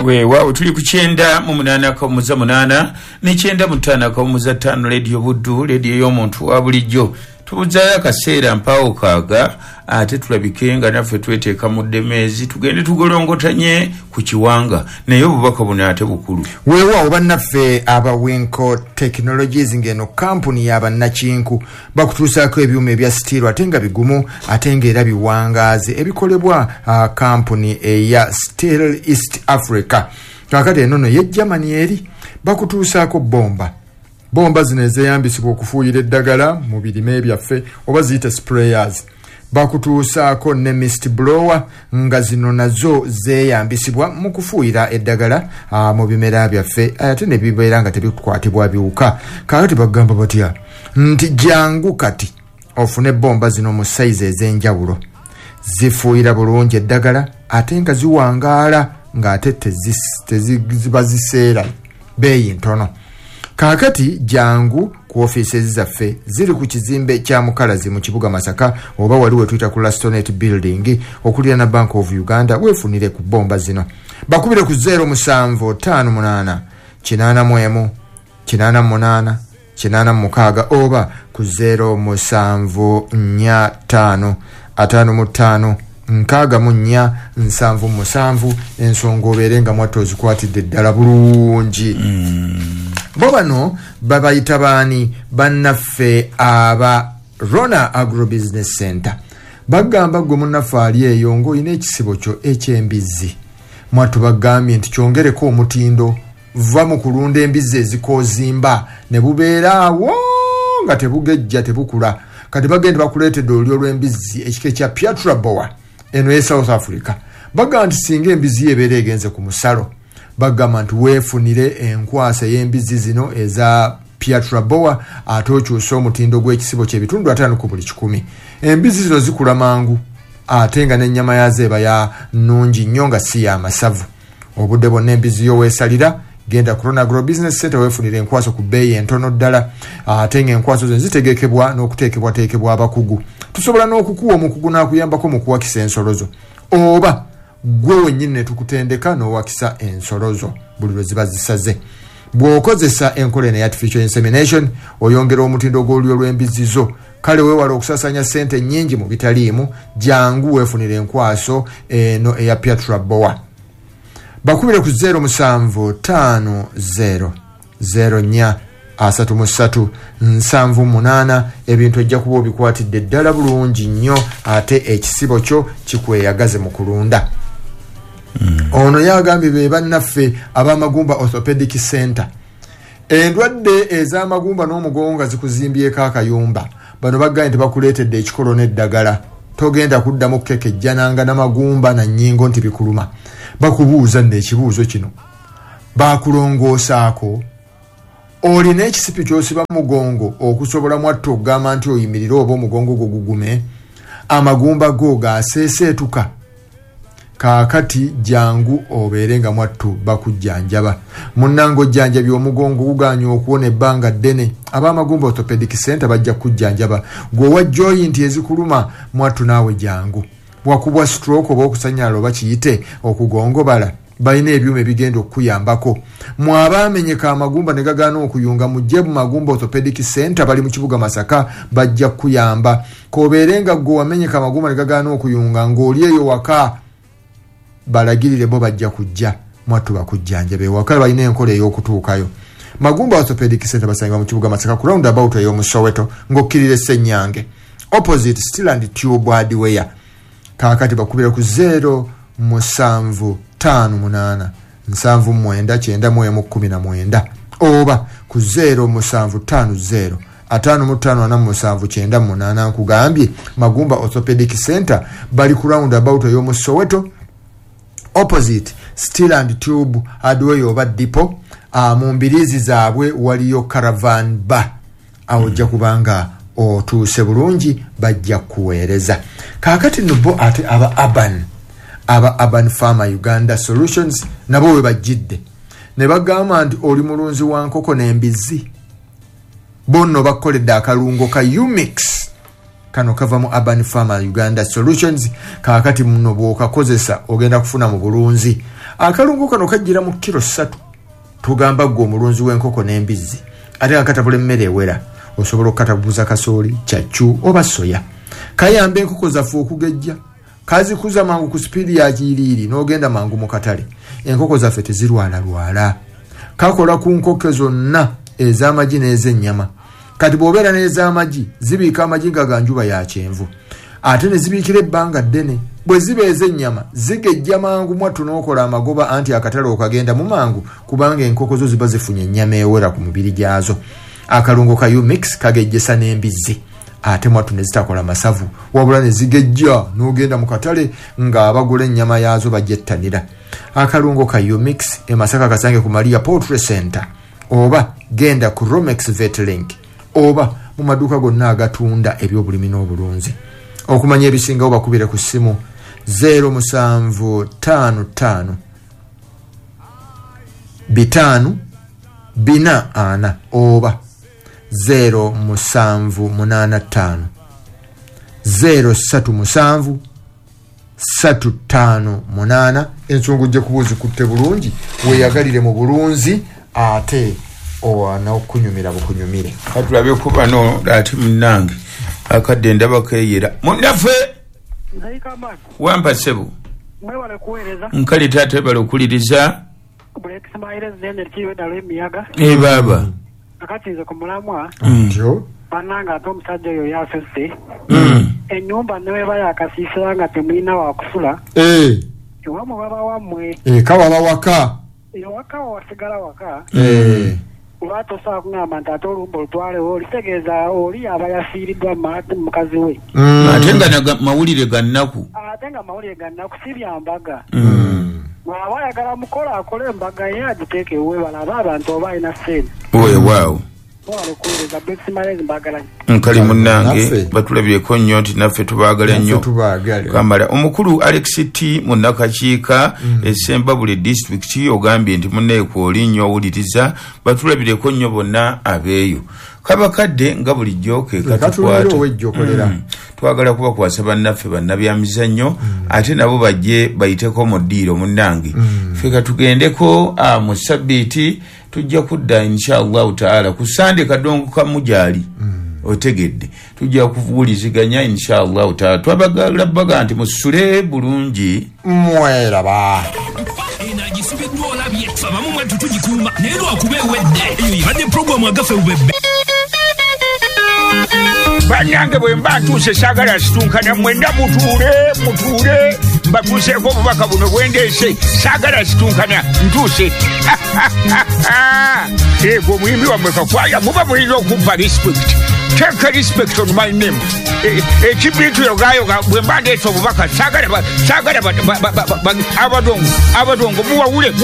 Weewaawo, tuli ku 98.8 ne 95.5 Radio Buddu, radio y'omuntu wa bulijjo. Tubuzaayo akaseera mpaawo kaaga, ate tulabike nga naffe tweteeka mu ddemeezi, tugende tugolongotanye ku kiwanga, naye obubaka buno ate bukulu. Weewaawo bannaffe aba Winco Technologies, ng'eno kampuni y'abannakinku, bakutuusaako ebyuma ebya steel ate nga bigumu ate ng'era biwangaazi, ebikolebwa kampuni eya Steel East Africa. Kakati eno no ye Germany eri bakutuusaako bomba. Bomba zino ezeyambisibwa okufuuyira eddagala mu birime byaffe, oba ziyite sprayers. Bakutuusaako ne mist blower, nga zino nazo zeeyambisibwa mu kufuuyira eddagala mu bimera byaffe, ate ne bibeera nga tebikwatibwa biwuka. Kaakati bagamba batya nti jangu kati ofune bomba zino mu sayizi ez'enjawulo, zifuuyira bulungi eddagala ate nga ziwangaala, ng'ate teziba ziseera, beeyi ntono. Kaakati jangu ku ofiisi zaffe, ziri ku kizimbe kya Mukalazi mu kibuga Masaka, oba wali wetuyita ku Lastonet Building okuliraana Bank of Uganda, weefunire ku bomba zino. Bakubire ku 0758 81 88 86 oba ku 0745 55 64 77. Ensonga obeere nga mwattu ozikwatidde ddala bulungi. Bo bano babayita baani? Bannaffe aba Rona Agrobusiness Center. Bagamba gwe munnaffe ali eyo ng'olina ekisibo kyo eky'embizzi, mwattu bagambye nti kyongereko omutindo, va mu kulunda embizzi ezikoozimba ne bubeera awo nga tebugejja, tebukula. Kati bagenda bakuleetedde olulyo lw'embizzi ekika ekya Piatra Boa, eno ye South Africa. Bagamba nti singa embizzi ebeera egenze ku musalo, bagamba nti weefunire enkwasa ey'embizzi zino eza Piatra Boa, ate okyuse omutindo gw'ekisibo ky'ebitundu 50 ku buli 100. Embizzi zino zikula mangu ate nga n'ennyama yaazo eba ya nnungi nnyo nga si ya masavu. Obudde bwonna embizzi yo weesalira, genda ku Rona Agro Business Center weefunire enkwaso ku bbeeyi entono ddala, ate ng'enkwaso zino zitegekebwa n'okuteekebwateekebwa abakugu. Tusobola n'okukuwa omukugu n'akuyambako mu kuwakisa ensolo zo, oba gwe wennyini ne tukutendeka n'owakisa ensolo zo buli lwe ziba zisaze. Bw'okozesa enkola eno eya artificial insemination, oyongera omutindo gw'olulyo lw'embizzi zo. Kale weewala okusaasaanya ssente nnyingi mu bitaliimu, jangu weefunire enkwaso eno eya Piatra Boa. Bakubire ku 0750 04 33 78. Ebintu ojja kuba obikwatidde ddala bulungi nnyo, ate ekisibo kyo kikweyagaze mu kulunda. Ono yagambye be bannaffe ab'Amagumba Orthopedic Center. Endwadde ez'amagumba n'omugongo nga zikuzimbyeko akayumba, bano bagambye nti bakuleetedde ekikolo n'eddagala, togenda kuddamu kukekejjananga n'amagumba na nnyingo nti bikuluma. Bakubuuza nno ekibuuzo kino, bakulongoosaako? Olina ekisipi ky'osiba mugongo okusobola mwattu okugamba nti oyimirire oba omugongo gwo gugume? Amagumba go gaseeseetuka? Kaakati jangu obeere nga mwattu bakujjanjaba. Munnange ojjanjabye omugongo guganye okuwona ebbanga ddene, ab'Amagumba Orthopedic Center bajja kukujjanjaba. Gwe owa joyinti ezikuluma, mwattu naawe jangu. Wakubwa stroke oba okusanyala oba kiyite okugongobala, balina ebyuma ebigenda okukuyambako. Mwabaamenyeka amagumba ne gagaana okuyunga, mujje mu Magumba Orthopedic Center, bali mu kibuga Masaka, bajja kukuyamba. K'obeere nga gwe wamenyeka amagumba ne gagaana okuyunga ng'oli eyo waka, balagirire bo bajja kujja mwattu bakujjanjabe. Ewaka balina enkola ey'okutuukayo. Magumba Orthopedic Center basangibwa mu kibuga Masaka ku roundabout ey'omu Soweto ng'okkirira Essenyange, opposite Steel and Tube Hardware. Kaakati bakubira ku 07 58 79 91 19 oba ku 0750 55 47 98. Nkugambye Magumba Orthopedic Center bali ku roundabout ey'omu Soweto, opposite Steel and Tube Hardware oba Depot. Mu mbiriizi zaabwe waliyo Caravan Bar, awo ojja kubanga otuuse bulungi, bajja kuweereza. Kaakati nno bo ate aba Urban Farmer Uganda Solutions nabo we bajjidde ne bagamba nti oli mulunzi wa nkoko n'embizzi, bo nno bakoledde akalungo ka Umix. Kano kava mu Urban Farmer Uganda Solutions. Kaakati muno bw'okakozesa ogenda kufuna mu bulunzi. Akalungo kano kajjira mu kiro 3. Tugamba gwe omulunzi w'enkoko n'embizzi ate nga katabula emmere ewera, osobola okukatabuza kasooli, kyaccu oba soya. Kayamba enkoko zaffe okugejja, kazikuza mangu ku sipiidi ya kiiriiri n'ogenda mangu mu katale. Enkoko zaffe tezirwalalwala. Kakola ku nkoko zonna ez'amagi n'ez'ennyama. Kati bw'obeera n'ez'amagi zibiika amagi nga ga njuba ya kyenvu, ate ne zibiikira ebbanga ddene. Bwe ziba ez'ennyama zigejja mangu mwattu n'okola amagoba, anti akatale okagenda mu mangu kubanga enkoko zo ziba zifunye ennyama ewera ku mubiri gyazo. Akalungo ka Umix kagejjesa n'embizzi, ate mwattu ne zitakola masavu wabula ne zigejja n'ogenda mu katale ng'abagula ennyama yaazo bagyettanira. Akalungo ka Umix e Masaka kasange ku Maria Poultry Center, oba genda ku Romex Vetlink, oba mu maduuka gonna agatunda ebyobulimi n'obulunzi. Okumanya ebisingawo bakubire ku ssimu 0755 5 4 oba 0785 037 358. Ensonga ojja kuba ozikutte bulungi, weeyagalire mu bulunzi ate n'okunyumira bukunyumire. Katulabe ku bano ate munnange akadde ndaba keeyera. Munnaffe wampa ssebo. Nkale taata ebala okuliriza. Baaba. Akati nze ku mulamwa bannange ate omusajja oyo yasese ennyumba ne weba yakasiisira nga temulina wakusula ewammwe baba wammwe kawaba waka ewaka wasigala waka oba tosobola kugamba nti ate olumba olutwalewo olitegeeza oli aba yafiiriddwa mukazi we, ate nga mawulire ga nnaku, ate nga mawulire ga nnaku si bya mbaga. Bw'aba ayagala mukola akole embaga ye agiteeke ewuwe balabe abantu oba alina ssente. Weewaawo nkali munnange batulabyeko nnyo nti naffe tubaagala nnyo kamala. Omukulu Alex T munnakakiika Essembabule disitulikiti ogambye nti munnaye kwoli nnyo owuliriza, batulabireko nnyo bonna abeeyo. Kabakadde nga bulijjo ke katukwata, twagala kubakwasa bannaffe bannabyamizannyo ate nabo bajje bayiteko mu ddiiro munnange. Ffe katugendeko mu sabbiiti tujja kudda inshallahu taala ku Sande kadongo kamujaali otegedde, tujja kuwuliziganya inshallahu taala. Twabagala baga nti musule bulungi mweraba. Bannange bwe mba ntuuse saagala situnkana, mwenna mutuule mbatuuseeko obubaka buno bwendeese, saagala situnkana ntuuse. Ego omuyimbi wammwe Kakwaya muba mulina okumpa respect. Take respect on my name. Ekibintu yogayoga bwe mba ndeese obubaka saagala abadongo muwawule.